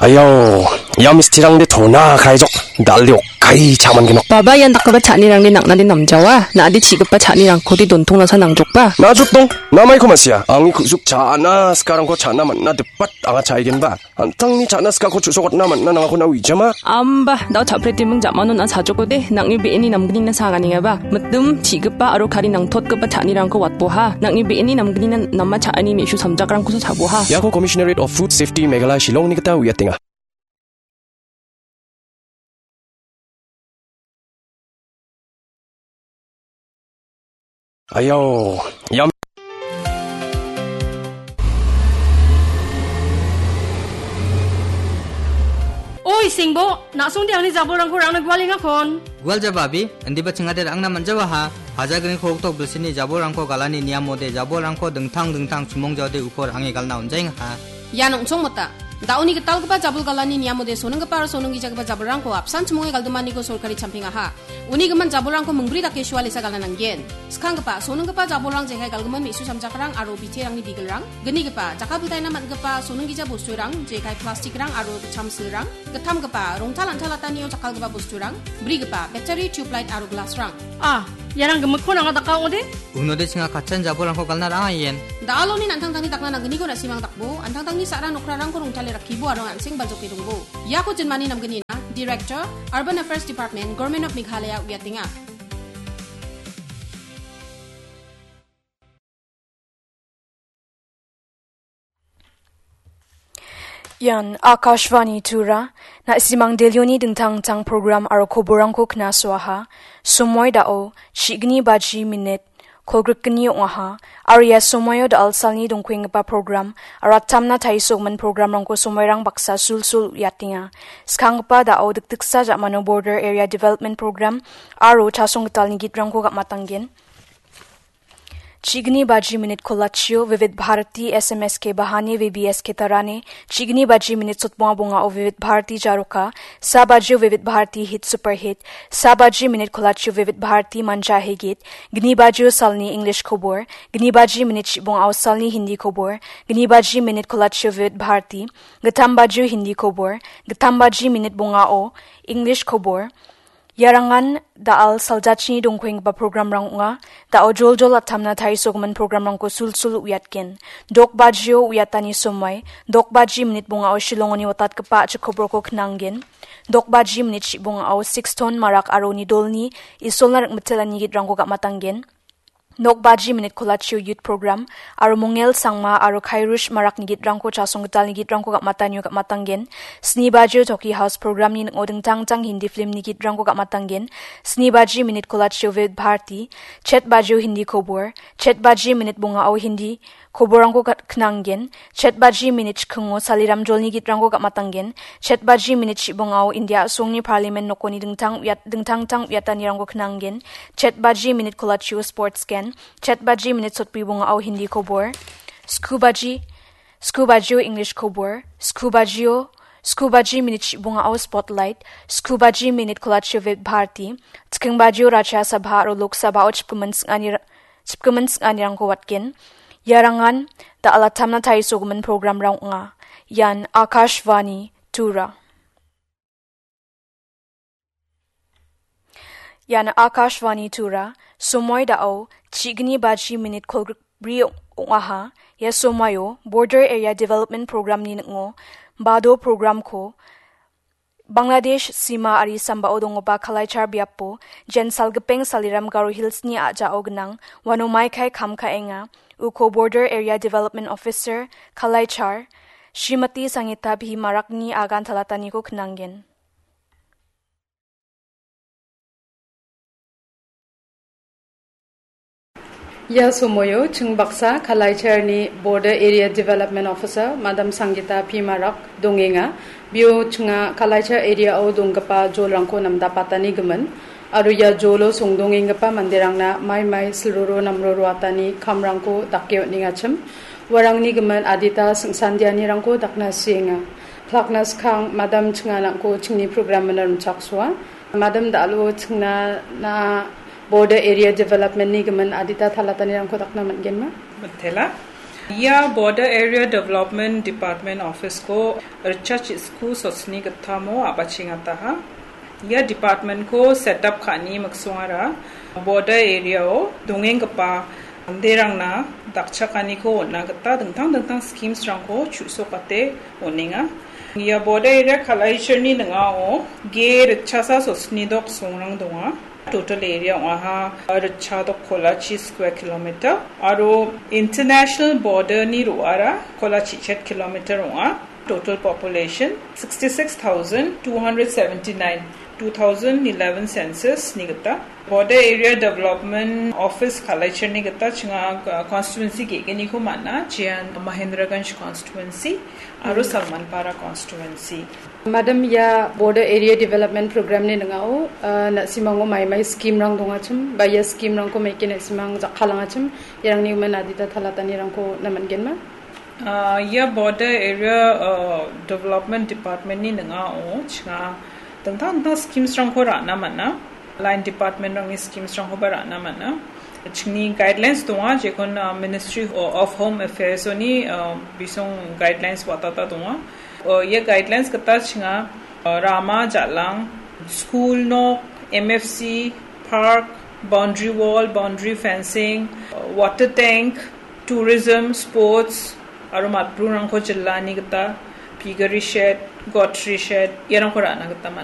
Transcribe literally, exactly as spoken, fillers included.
Ayo, ia mistirangde tona kaijok, dal·de okkai cha·mangenok. Baba, ian dakgipa cha·anirangde nang·nade namjawa, na·ade chi·gipa cha·nirangkode dontong nasa nangjokba. Najotdong, namaiko ma·sia. Angni ku·suk cha·na sikarangko cha·na man·na dipat anga cha·aigenba. An·tangni cha·na sikako chu·sokatna man·na nangako na uijama. Amba, dao cha·pretiming ja·manon a sajokode, nang·ni be·eni namgnina saganengaba. Mitim, chi·gipa aro kari nangtotgipa cha·anirangko watboha. Nang·ni be·eni namgnina nama cha·ani me·su samjakrangkosa chaboha. Iako Commissionerate of Food Safety Meghalaya Shillongni gita uiatenga. Ayo, iam. Oi, Singbo, na·songde angni jabolrangko rangna gualengakon. Gual jaba, abi, indiba chingade rangna manjawaha. Hajagriko oktok bilsini jabolrangko galani niamode jabolrangko dingtang dingtang chumong jaode ukor ange galna onjaengaha. Ian ong·chongmota. Da·oni gitalgipa jabol galani niamode soninggipa aro soninggijagipa jabolrangko apsan chimonge galdimaniko sorkari champengaha. Uni gimin jabolrangko mingbri dake sualesa galna nanggen. Skanggipa, soninggipa jabolrang jekai galgimin me·su samjakrang aro biterangni bigilrang. Gnigipa, jakkalpiltaina man·gipa soninggija bosturang, jekai plastikrang aro gitcham silrang. Gittamgipa, rongtal an·talatanio jakkalgipa bosturang. Brigipa, battery, tubelight aro glassrang. Ah, iarang gimikkon anga daka ong·ode? Unode chinga katchan jabolrangko galna ra·angaien. Da·aloni an·tangtangni dakna nanggniko na·simang dakbo, an·tangtangni sa·ra nokrarangko rongtale rakkibo aro an·seng baljoke dongbo. Iako jinmani namgnina, Director, Urban Affairs Department, Government of Meghalaya uiatenga. Ian Akashvani Tura, na·simang Delhioni dingtang dingtang program aro koborrangko knasoaha. Somoi da·o, chi·gni baji minit, kolgrikgni ong·aha. Aro ia somoio da·al salni dongkuenggipa program, aro attamna taisogimin programrangko somoirang baksa sulsul uiatenga. Skanggipa da·o dikdiksa ja·mano Border Area Development Program, aro chasong gitalni gitrangko gam·atanggen. Chi·gni baji minit kolachio Vivid Bharati S M S ke bahane V B S ke tarane, chi·gni baji minit sotbonga bongao Vivid Bharati jaroka, sa bajio Vivid Bharati Hit Super Hit, sa baji minit kolachio Vivid Bharati Manja Hegit, gni bajio salni English kobor, gni baji minit chibongao salni Hindi kobor, gni baji minit kolachio Vivid Bharati, gittam bajio Hindi kobor, gittam baji minit bongao English kobor, Iarangan da·al saljachini dongkuenggipa programrang ong·a. Da·o joljol attamna tarisogimin programrangko sulsul uiatgen. Dok bajio uiatani somoi, dok baji minit bongao Shillongoni watatgipa a·chik koborko knanggen. Dok baji minit chibongao Sixton Marak aro uni dolni Isolna rikmitela nigitrangko gam·atanggen. Nok baji minit kolachio youth program, aro Mongel Sangma aro Kairush Marakni gitrangko chasong gitalni gitrangko gam·atanio gam·atanggen. Sni bajio Toki House programni ning·o dingtang dingtang Hindi filmni gitrangko gam·atanggen. Sni baji minit kolachio Vivid Bharati, chet bajio Hindi kobor, chet baji minit bongao Hindi koborrangko kat-, knanggen. Chet baji minit chikingo Saliram Jolni gitrangko gam·atanggen. Chet baji minit chibongao India a·songni parliament nokoni dingtang uiat-, dingtang dingtang uiatanirangko knanggen. Chet baji minit kolachio sports gen. Chet baji minit sotbri bongao Hindi kobor. Sku baji, sku bajio English kobor. Sku bajio, sku baji minit chibongao spotlight. Sku baji minit kolachio Vivid Bharati. Chiking bajio Rajya Sabha aro Lok Sabhao chipgimin sing·ani ra-, chipgimin sing·anirangko watgen. Iarangan da·al attamna tarisogimin programrang ong·a. Ian Akashvani Tura. Ian Akashvani Tura, somoi da·o chigni baji minit kolgrikbri ong-, ong·aha. Ia somoio Border Area Development Programni ning·o Bado programko Bangladesh sima ari sambao donggipa Kalaichar biapo, jen salgipeng Saliram Garo Hillsni a·jao gnang, uano maikai kam ka·enga. Uko Border Area Development Officer, Kalaichar, Srimati Sangita P Marakni agan talataniko knanggen. Ia somoio ching baksa Kalaicharni Border Area Development Officer, Madam Sangita P Marak dongenga. Bio chinga Kalaichar area-o donggipa jolrangko namdapatani gimin, aro ia jolo songdongenggipa manderangna mai mai silroro namroro atani kamrangko dake on·engachim. Uarangni gimin adita singsandianirangko dakna sienga. Klakna skang, Madam chinga nangko chingni program-ona rimchaksoa. Madam da·alo chingna na Border Area Development-ni gimin adita talatanirangko dakna man·genma? Mitela. Ia Border Area Development Department Office-ko ritchasku sotni gittamo a·bachengataha. Ia department-ko set up ka·ani miksongara border area-o dongenggipa manderangna dakchakaniko on·na gita dingtang dingtang schemes-rangko chu·sokate on·enga. Ia Border Area Kalaicharni ning·ao ge ritchasa sotni dok songrang donga. Total area ong·aha ritchadok kolachi square kilometer aro international border-ni ro·ara kolachi chet kilometer ong·a. Total population sixty-six thousand two hundred seventy-nine, two thousand eleven census-ni gita. Border Area Development Office Kalaicharni gita chinga, uh, constituency ge·gniko man·a, jean Mahendraganj constituency aro Salmanpara constituency. Madam, ia Border Area Development Program-ni ning·ao, uh, na·simango mai mai scheme-rang dongachim, ba ia scheme-rangko maike na·simang jakkalangachim, iarangni umen adita talatanirangko naman·genma? Uh, ia Border Area, uh, Development Department-ni ning·ao chinga dingtang dingtang schemes-rangko ra·na man·a. Line department-rangni schemes-rangkoba ra·na man·a. Chingni guidelines donga, jekon, uh, Ministry of Home Affairs-oni, uh, bisong guidelines watata donga. Uh, ia guidelines gita chinga, uh, rama, jal·ang, school nok, M F C, park, boundary wall, boundary fencing, uh, water tank, tourism, sports, aro matbrurangko jilani gita piggery shed, goatry shed, iarangko ra·na gita man·a.